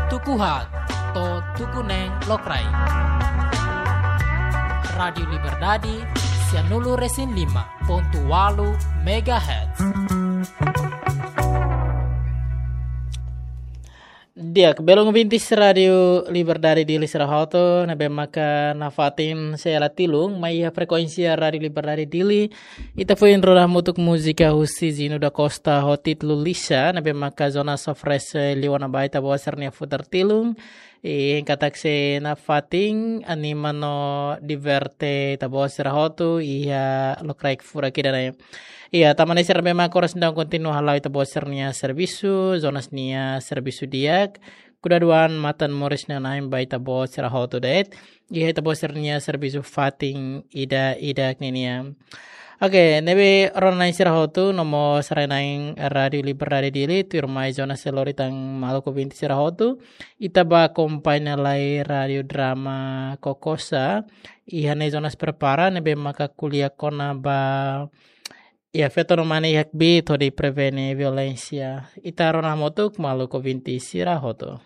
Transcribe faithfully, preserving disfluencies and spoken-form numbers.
Tuku haat to'o tuku neen lokraik. Rádiu Liberdade, sianulu resin lima pontu walu megahertz. Di'ak, belun ouvintes Rádiu Liberdade Dili sira hotu, ne'ebé maka nafatin sei hela tilun mai iha frekuénsia Rádiu Liberdade Dili. Ita foin rona hamutuk múzika husi Zino da Costa ho títulu Lixa, ne'ebé maka Jonas oferese liu-liu ba ita-boot sira-nia futar tilun. I hein katak sei nafatin anima no diverte ita-boot sira hotu iha lokraik furak ida-ne'e. Iha, tanba ne'e sira ne'ebé maka oras ne'e daudaun kontinua hala'o ita-boot sira-nia servisu, Jonas nia servisu di'ak. Kuda duan matan moris nanain ba ita-boot sira hotu de'it. Iha ita-boot sira-nia servisu fatin ida-idak ninian. Oke, ne'ebé rona-na'in sira hotu, no mós rai-na'in Rádiu Liberdade Dili, tuirmai Jonas sei lori tan maluk ouvinte sira hotu. Ita bá akompaña lai Rádiu Drama Kokosa. Iha ne'e Jonas prepara, ne'ebé maka ko'alia kona-ba, iha feto no mane iha kbiit hodi prevene violénsia. Ita rona hamutuk maluk ouvinte sira hotu.